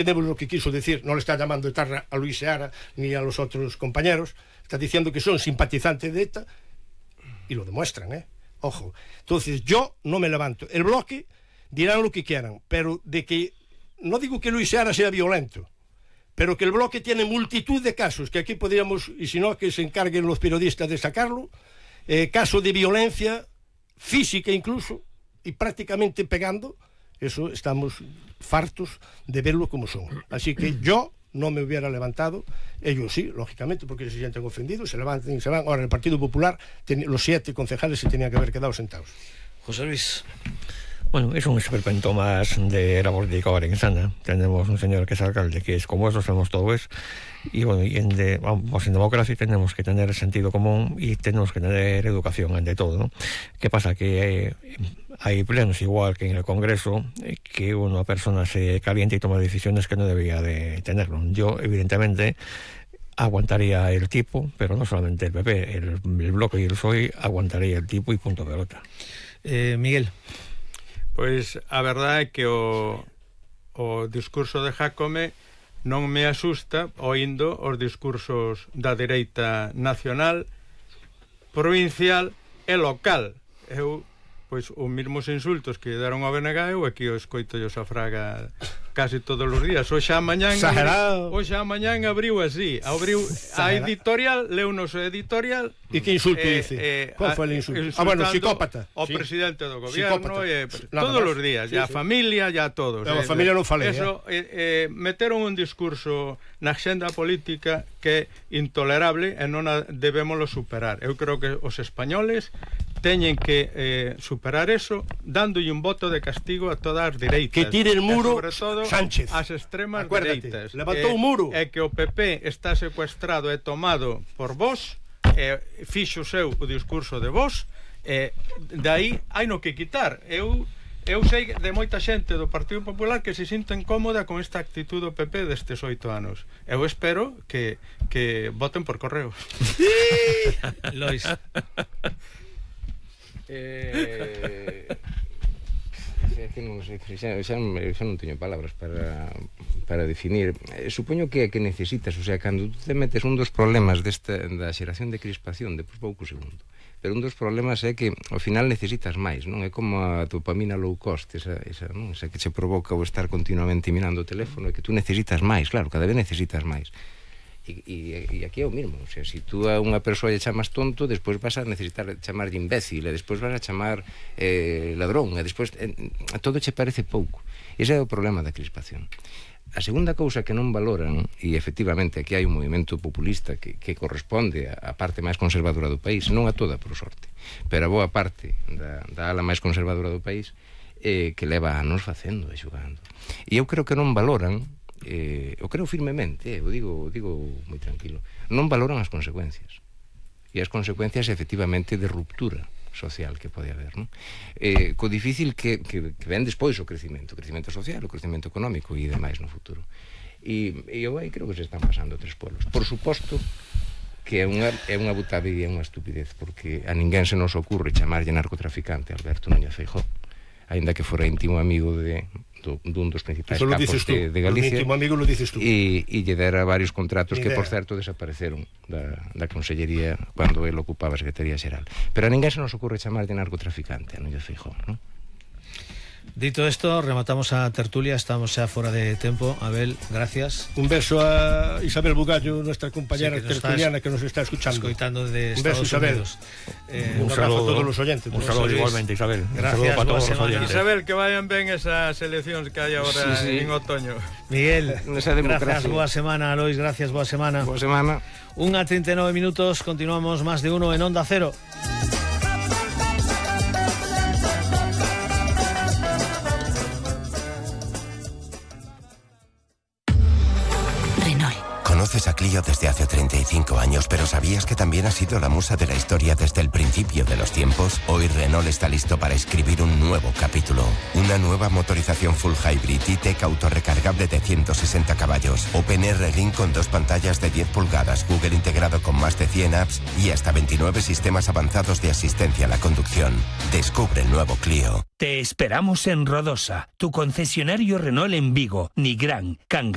Entendemos lo que quiso decir, no le está llamando etarra a Luis Seara ni a los otros compañeros, está diciendo que son simpatizantes de ETA y lo demuestran, ojo. Entonces yo no me levanto. El bloque dirán lo que quieran, pero de que, no digo que Luis Seara sea violento, pero que el bloque tiene multitud de casos, que aquí podríamos, y si no, que se encarguen los periodistas de sacarlo, casos de violencia física incluso, y prácticamente pegando. Eso estamos fartos de verlo como son. Así que yo no me hubiera levantado, ellos sí, lógicamente, porque se sienten ofendidos, se levantan y se van. Ahora, en el Partido Popular, los 7 concejales se tenían que haber quedado sentados. José Luis. Bueno, es un esperpento más de la política orensana. Tenemos un señor que es alcalde, que es como eso, somos todos. Y bueno, en democracia tenemos que tener sentido común y tenemos que tener educación ante todo, ¿no? ¿Qué pasa? Que hay plenos, igual que en el Congreso, que una persona se calienta y toma decisiones que no debía de tenerlo. Yo, evidentemente, aguantaría el tipo, pero no solamente el PP, el Bloque y el PSOE aguantaría el tipo y punto pelota. Miguel. Pois a verdade é que o discurso de Jácome non me asusta oindo os discursos da dereita nacional, provincial e local. Eu, pois, os mesmos insultos que deron ao BNG, eu aquí o escoito yo a Fraga casi todos os días. Hoxe a mañán abriu así, abriu a editorial, leu nos editorial. E que insulto dice? Qual foi o insulto? Bueno, psicópata. O presidente do gobierno, todos os días, ya a familia, ya todos. A familia non falei. Eso, meteron un discurso na agenda política que é intolerable e non debémoslo superar. Eu creo que os españoles teñen que superar eso, dándolle un voto de castigo a todas as dereitas. Que tire el muro, sobre todo Sánchez. As extremas dereitas. Levantou un muro. É que o PP está secuestrado e tomado por vos, fixo seu o discurso de vos, de aí hai no que quitar. Eu sei de moita xente do Partido Popular que se sinta incómoda con esta actitud do PP destes 8 anos. Eu espero que voten por correo. Lois. Que non sei, xa non teño palabras para definir. Supoño que necesitas, o sea, cando tú te metes un dos problemas da xeración de crispación de pouco segundo, pero un dos problemas é que ao final necesitas máis, non? É como a dopamina low cost, esa que che provoca o estar continuamente mirando o teléfono, é que tú necesitas máis, claro, cada vez necesitas máis. E aquí é o mismo, o sea, se tú a unha persoa lle chamas tonto, despois vas a necesitar chamarlle imbécil, e despois vas a chamar ladrón, e despois todo che parece pouco. Ese é o problema da crispación. A segunda cousa que non valoran, e efectivamente aquí hai un movimento populista que corresponde á parte máis conservadora do país, non a toda, por sorte, pero a boa parte da ala máis conservadora do país, que leva anos facendo e xogando. E eu creo que non valoran, eu creo firmemente, eu digo moi tranquilo, non valoran as consecuencias, e as consecuencias efectivamente de ruptura social que pode haber, non? Co difícil que ven despois o crecimento social, o crecimento económico e demais no futuro. E eu aí creo que se están pasando 3 pueblos. Por suposto que é unha butadilla e unha estupidez, porque a ninguén se nos ocurre chamarlle narcotraficante a Alberto Núñez Feijóo, aínda que fora íntimo amigo dun dos principais capos de Galicia, e lle dera varios contratos que, por certo, desapareceron da Consellería cando el ocupaba a Secretaría Xeral. Pero a ninguén se nos ocurre chamar de narcotraficante a Núñez Feijóo, non? Dito esto, rematamos a tertulia, estamos ya fuera de tiempo. Abel, gracias. Un beso a Isabel Bugallo, nuestra compañera tertuliana que nos está escuchando. De un beso, Isabel. Un abrazo a todos los oyentes. Un saludo igualmente, Isabel. Gracias, para todos los oyentes. Isabel, que vayan ben esas eleccións que hai agora en otoño. Miguel, gracias, boa semana. Lois, gracias, boa semana. Boa semana. 1:39 minutos, continuamos Más de Uno en Onda Cero. Conoces a Clio desde hace 35 años, pero ¿sabías que también ha sido la musa de la historia desde el principio de los tiempos? Hoy Renault está listo para escribir un nuevo capítulo. Una nueva motorización full hybrid E-Tech autorrecargable de 160 caballos. OpenR Link con 2 pantallas de 10 pulgadas, Google integrado con más de 100 apps y hasta 29 sistemas avanzados de asistencia a la conducción. Descubre el nuevo Clio. Te esperamos en Rodosa, tu concesionario Renault en Vigo, Nigrán, Cangas.